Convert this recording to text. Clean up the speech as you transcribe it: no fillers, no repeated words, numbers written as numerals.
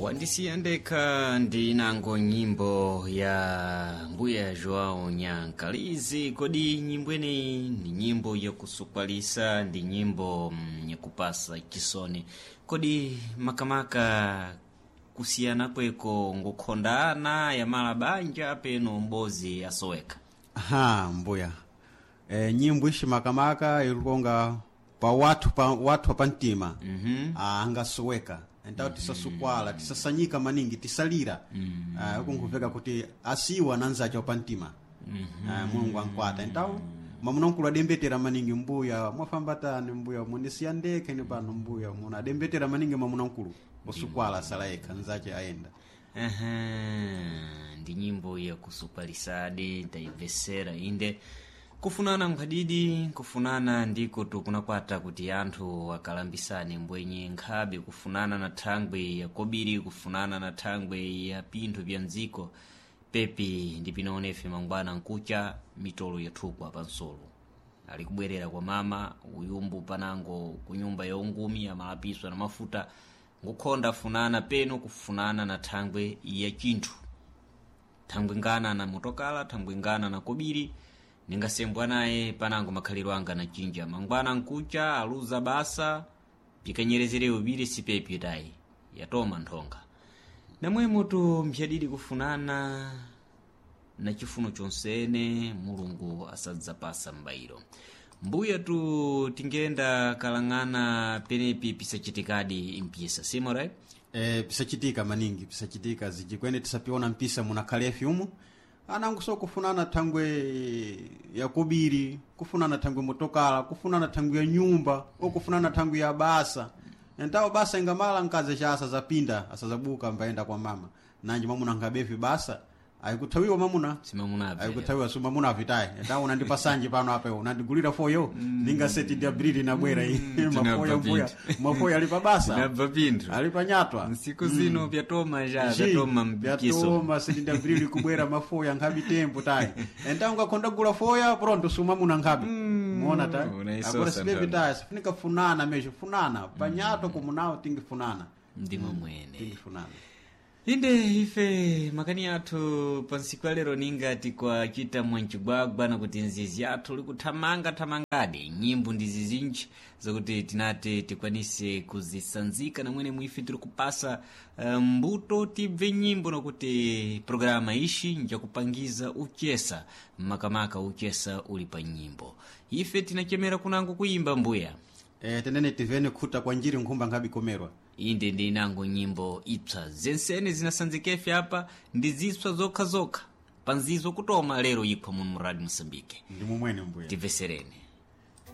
Wandisiya ndekha ndi inango nyimbo ya mbuya João Nyankalizi. Kodi nyimbo ineyi ndi nyimbo yakusukwalisa, ndi nyimbo yakupasa chisoni? Kodi makamaka kusiyana kweko ngukhondana yamala banja peno mbozi asoweka? Aha, mbuya nyimbo ixi makamaka ilikonga pa wathu pa wathu pa mtima angasoweka entawo tisasukwala, tisasanyika maningi, tisalira ukunkhuveka kuti asiwa nanzacho pa mtima. Mulungu ankwata entawo mwamuna adembetera maningi, mbuya mwafambatani, mbuya mundisiya ndekha ine pano, mbuya muna adembetera maningi mwamuna mkulu osukwala asala yekha nzache ayenda. Aha, ndi nyimbo yakusupalisadi, tayibvesera inde. Kufunana nkhadidi, kufunana ndiko tukunakwata kuti anthu akalambisane mbwenye nkhabe, kufunana na thangwe ya kobiri, kufunana na thangwe ya pinthu bya mdziko pepi ndi pinaonefe mangwana nkucha mitolo yathukwa pansolo ali kubwerera kwa mama uyumbu panango kunyumba ya ungumi amalapiswa na mafuta ngukhonda funana peno kufunana na thangwe ya chinthu, thangwe ngana na motokala, thangwe ngana na kobiri, ningasembwa naye panango makhaliro anga na chinja mangwana nkucha aluza basa pikanyerezere ubiri sipepi tayi yatoma nthonga namwemo tu mphyadidi kufunana na chifuno chonsene Mulungu asadzapasa m'bayiro. Mbuya tu tingenda kalang'ana penepi pisachitikadi mpisa simorai. Pisachitika maningi, pisachitika zijikwene tisapiona mpisa munakhalefi umu anangu so kufunana thangwe ya kobiri, kufunana thangwe motokala, kufunana thangwe ya nyumba o kufunana thangwe ya basa. Entawo basa ingamala nkazi cha asazapinda asazabuka mbaenda kwa mama nanji mwamuna nkabefi basa ayikuthawiwa mamuna simamunabve ayikuthawiwa so mamuna avitayi entawo unandipasanji pano apa iwe unandigulira foyo ningaseti ndi abrili nabwera iyi mafoyo mbuya mafoyo ali pa basa Tinabva pinthu ali panyatwa nsiku zino pyatoma ja pyatoma mpikiso. byatoma sitindabviriri kubwera mafoya nkhabi tempo tayi enta ungakhonda gula foya pronto sumamuna nkhabi muona tayi unaisosa agora sipepi nthawi. tayi sifunika funana mesho funana panyato kumunawo tingifunana Ndimo mwene tingifunana. Inde ife makani athu pansiku alero ningati kwachita mwancigwagwa nakuti nzizi athu likuthamanga thamangadi nyimbo ndi zizinji zakuti tinati tikwanise kuzisanzika namwene mwife tiri kupasa mbuto tibve nyimbo nakuti programa ishi njakupangiza uchesa makamaka uchesa uli pa nyimbo ife tinachemera kunango kuimba mbuya. Tenene tivene khuta kwa njiri nkhumba nkhabi komerwa. Inde ndi inango nyimbo ipsa zensene zinasanzikefe apa ndi zipsa zokhazokha panzizo kutoma lero ikhwa muno mu Radio Mosambike. Ndi mumwene mbuya. Timvesereni.